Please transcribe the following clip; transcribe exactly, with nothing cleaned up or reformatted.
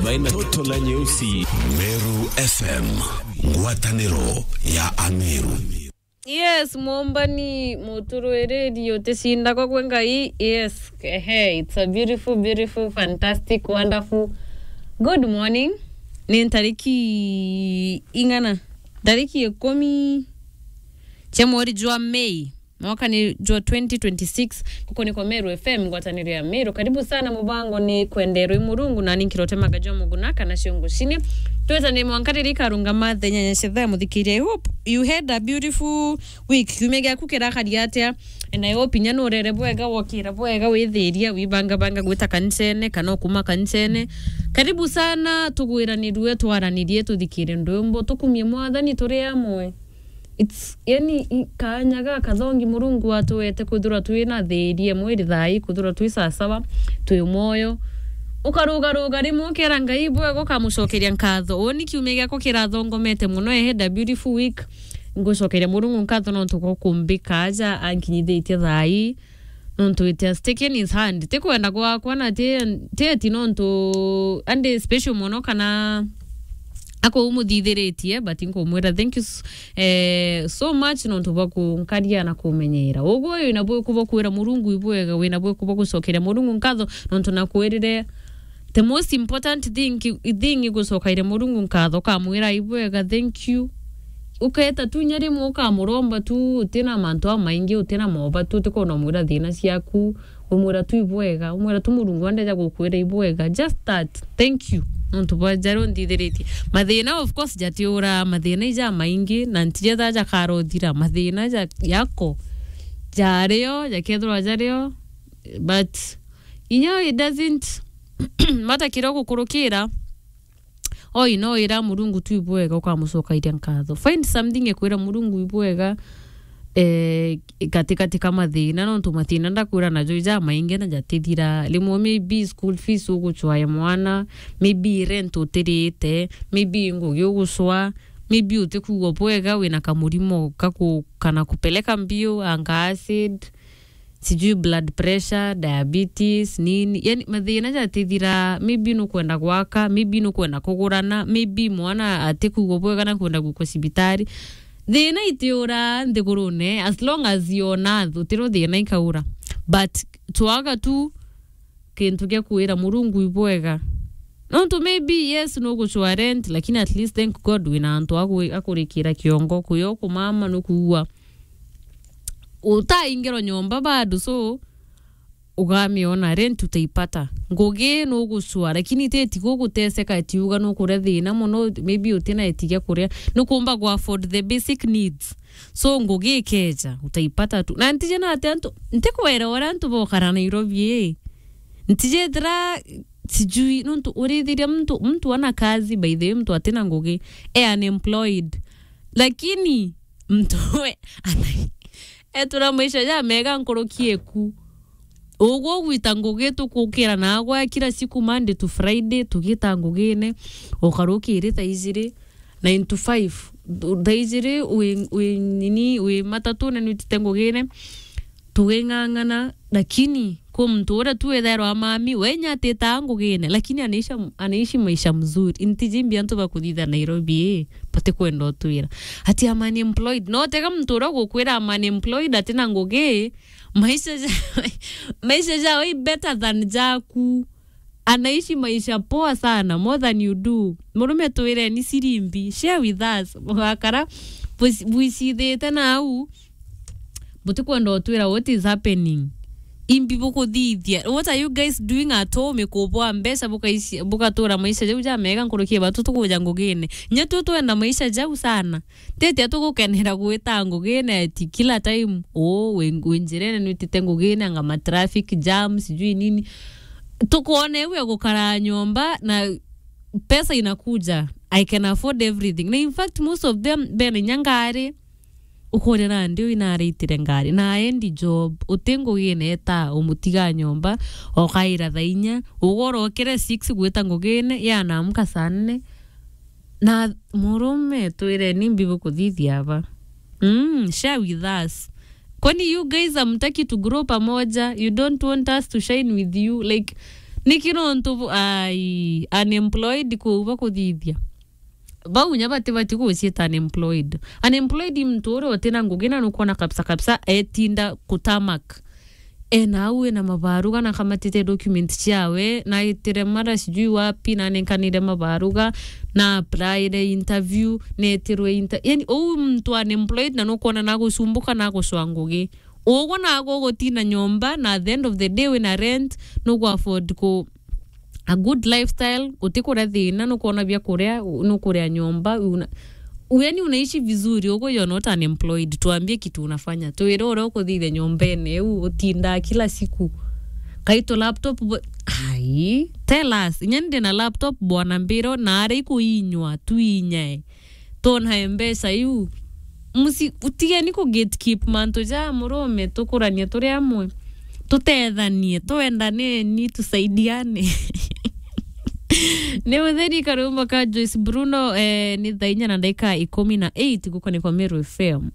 Baina toto la nyeusi. Meru F M, ngwataniro ya Ameru. Yes, mwombani muturwiriri uticindagwa gwe Ngai. Yes, ehe, it's a beautiful, beautiful, fantastic, wonderful. Good morning. Ni ntariki ing'ana? Ntariki ikumi cia mweri jwa Mei. Mwaka ni jwa twenty twenty-six, kuko ni kwa Meru F M, ngwataniro ya Meru. Karibu sana, mubango ni kwenderwe Murungu, na ni nkirotemaga jwa muguna kana ciungu cini. Tweta ni mwanka riri karungama thenya nya cetha, muthikiria. I hope you had a beautiful week. Kiumia giaku kirakari atia? And I hope inya nurere bwega, wokira bwega, withiria, wibangabanga gwita kanisene, kana ukuma kanisene. Karibu sana, tugwiranirue, twaranirie, tuthikire ndwimbo, tukumie Mwathani turi amwe. It's, yani, i-, kaanya gakathongi Murungu atuete kwithirwa twina thiiri imwe iri thaa ii, kwithirwa twi sasawa, twi mwoyo. Ukarugaruga rimwe ukera Ngai bwega, ukamucokeria nkatho. Uuni kiumia giakwa kirathongomete mono, I had a beautiful week. Ngucokeria Murungu nkatho nontu gwa kumbika aja ankinyithitie thaa ii. Nontu it has taken his hand. Ti kwenda gwakwa na ti, ti eti nontu andi special mono kana akumuthithiritie, but nkumwira thank you s-, eh, so much nontu bwa kunkaria na kumenyera. Uguo wina bwiku bwa kwira Murungu ibwega, wina bwiku bwa gucokeria Murungu nkatho nontu nakwirire the most important thing, thing igucokaire Murungu nkatho, ukamwira ibwega, thank you. Uketa tu inya rimwe ukamuromba tu, utina mantu amaingi, utina moba tu, utikwona umwira thina ciaku, umwira tu ibwega, umwira tu Murungu andeja gukwira ibwega. Just that, thank you nontu bwa jaria unthithiritie. Mathina, of course, jatiura, mathina ija maingi, na ntijetha jakarothira. Mathina ja-, jako jario, jakethirwa jario, but inya it doesn't matter kiria ugukurukira. Oi, no ira Murungu tu ibwega, ukamucokairia nkatho. Find something ekwira Murungu ibwega, eh, katikati ka mathina, nontu mathina ndakwira najo ija maingi na jatithira. Rimwe maybe school fees ugucwae mwana, maybe rent utirite, maybe ngugi ugucwa, maybe utikwigua bwega, wina kamurimo kaku-, kana kupeleka mbio, anga acid, sijui blood pressure, diabetes, nini. Yani, mathina jatithira, maybe nukwenda gwaka, maybe nukwenda kugurana, maybe mwana atikwigua bwega na kwenda gwikwa cibitari. Thina itiura nthigurune, as long as you on earth, utiro thina ikaura. But twaga tu kintu gia kwira Murungu ibwega. Nontu maybe, yes, nugucwa rent, lakini at least thank God wina antu agu-, akurikira kiongo, kuyo kumama nukuua. Utaingirwa nyomba bado, so ugamiona, rent utaipata. Ngugi nugucwa, lakini ti eti guguteseka eti uga nukuria thina mono, maybe utina eti gia kuria. Nukumba gu afford the basic needs. So ngugi ikeja, utaipata tu. Na ntije na ati antu, ntikwera uria antu bokara Nairobi ii. Ntijethira sijui, nontu urithiria mtu, mtu ana kazi, by the way, mtu atina ngugi, e unemployed. Lakini mtu we, ana-, etura maisha ja mega nkuruki eku. Uguo gwita ngugi tukukira na agwa kila siku Monday to Friday, tugita ngugine, ukarukiri thaa ijiri, nine to five. Thaa ijiri wi, wi nini, wi matatune nwitite ngugine, tuging'ang'ana, lakini kwi muntu uria tu withairwa mami, we inya atitaa ngugine, lakini anaisha, anaishi maisha mzuri. Ntiji mbi antu bakuthitha Nairobi ii, batikwenda utwira. Ati I'm unemployed. No tega muntu uria ugukwira I'm unemployed, atina ngugi, maisha ja, maisha jao i better than jaku. Anaishi maisha poa sana, more than you do. Murume twireni siri mbi, share with us. Mugakara bwis-, bwicithite nau, butikwenda utwira what is happening. Imbi bukuthithia. What are you guys doing at home? Ikubwa mbeca bukaici-, bugatura maisha jau ja mega nkuruki ya batu tukuja ngugine. Nya tu twenda maisha jau sana. Tete tugukenera gwita ngugine eti kila time. Oh, wi, wi njirene nwitite ngugine, anga ma traffic jam, sijui nini. Tukwona iu ya gukara nyomba na pesa inakuja. I can afford everything. Na in fact, most of them, bena inya ngari, ukoria nandi uyu naraitire ngari. Na endi job, uti ngugine eta, umutiga nyomba, okaira thaa inya, ugorokere six gwita ngugine, ya naamka saa nne. Na murume, twireni mbi bukuthithia aba. Mm, share with us. Kwani you guys hamtaki to grow pamoja? You don't want us to shine with you? Like, Niki nontu bu-, ai, unemployed kuu bakuthithia? Bau nya batibati guciita unemployed. Unemployed i muntu uria utina ngugi na nukwona kabisa kabisa etinda kutamak. Ena au ena mabaruga na kamatite document ciawe, na aitire mara sijui wapi, na anenkanire mabaruga, na applyire interview, netirwe inter-, yani, uu muntu unemployed na nukwona na gucumbuka na gucwa ngugi. Ugwe na ago gutina nyomba, na at the end of the day wina rent, nugu afford ku a good lifestyle, utikuria thina, nukwona bia kuria, nukuria nyomba, una, yani unaishi vizuri, ugo you're not unemployed. Tuambie kitu unafanya. Tuire uria ukuthithia nyombene iu, utindaa kila siku. Kaito laptop bo-, ai, tell us. Inya ndi na laptop bwana mbiro, na ari kuinywa, tuinyae. Tona mbeca iu. Musi-, utigeni ku gatekeep mantu ja murume, tukuranie turi amwe. Tutethanie, twendaneni, tusaidiane. Ni mutheri karumba ka Joyce Bruno, eh, ni thaa inya na ndagika ikumi na eight gukonikwa Meru F M.